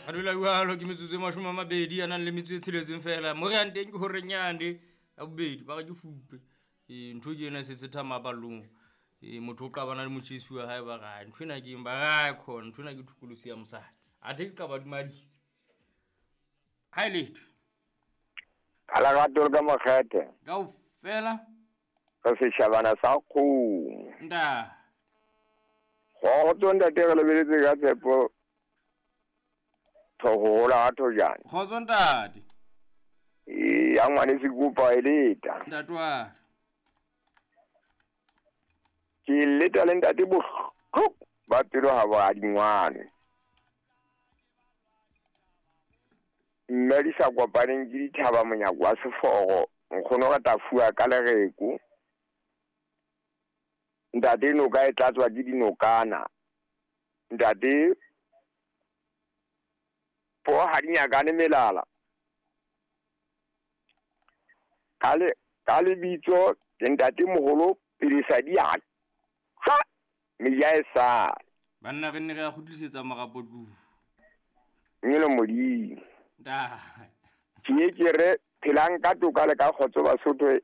Re dula jwalo ke metsotso e 20 a nang le metso e tsheletseng fela. Mo re yang teng ke horeng yane ya bobedi ba re ke fupe. Ee, ntho ke ena e se thama ballong. Ee, motho o qabana le motjhesi wa hae ba re ntho ena ke eng ba re khona ntho ena ke thokolosi ya mosadi. Athe ke qaba dumadisa. Ha e letho. Ka lerato le ka makgethe. Kaofela. Re setjhabana sa kgomo. Nta. Kgotso ntate, re lebeletse ka tshepo thoko hola ha thojane. Kgotso ntate. Ee, ya ngwane se kopa e leta. Ntate wa. Ke leta le ntate bohloko ba pelo ha ba dingwane. Mme di sa kopaneng ke dithaba monyako wa seforo, nkgono re tla fuwa ka lereko. Ntate noka e tlatswa ke dinokana. Ntate po ha di nyakane melala. Ka lebitso ke ntate moholo pele sa di a tjwa meja e sa. Banna re nne re a kgutlisetsa marapo tlung. Nyelo Modimo. Nta. Ke ke re phelang ka toka le ka kgotso Basotho.